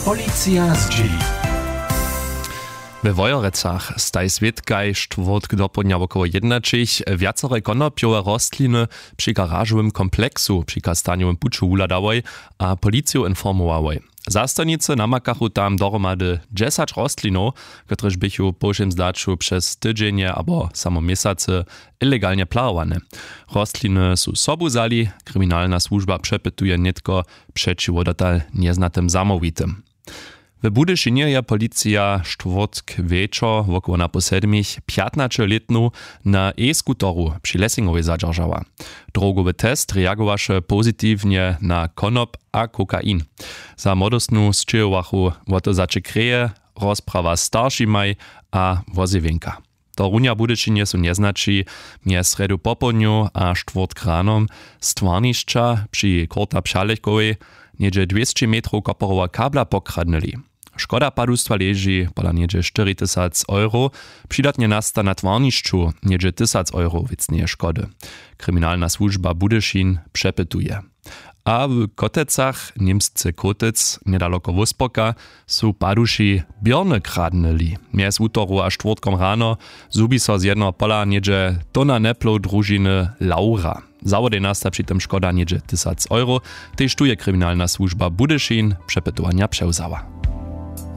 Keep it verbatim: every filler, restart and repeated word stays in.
Policija zdźěli. We Wojerecach staj swědkaj štwórtk dopołdnja wokoło jednaćich wjacore konopjowe rostliny při garažowym kompleksu při kastanjowym puću wuhladałoj a policiju informowałoj. Zastojnicy namakachu tam dohromady dźesać rostlinow, kotrež běchu w powšěm zdaću přez tydźenje abo samo měsacy ilegalnje plahowane. Rostliny su sobu wzali. Kriminalna słužba přepytuje nětko přećiwo dotal njeznatym zamołwitym. W Budyšinje je policija štwórtk wječor wokoło napoł sedmich pjatnaćelětnu na e-skuteru při Lessingowej zadźeržała. Drogowy test reagowaše pozitiwnje na konop a kokain. Za młodostnu sćěhowachu wotozaće kreje, rozprawa z staršimaj a wozjewjenka. To runja w Budyšinje su njeznaći mjez srjedu popołdnju a štwórtk rano z twarnišća při korta přalechkowej něhdźe dwěsći metrow koporowa kabla pokradnyli. Škoda padustwa leži pola něhdźe štyri tysac euro. Přidatnje nasta na twarnišću něhdźe tysac euro wěcneje škody. Kriminalna słužba Budyšin přepytuje. A w Kotecach, němsce Kotec, njedaloko Wósporka, su paduši běrny kradnyli. Mjez wutoru a štwórtkom rano zhubi so z jednoho pola něhdźe tona neplow družiny Laura. Zawodej nasta při tym škoda něhdźe tysac euro. Tež tu je kriminalna słužba Budyšin přepytowanja přewzała.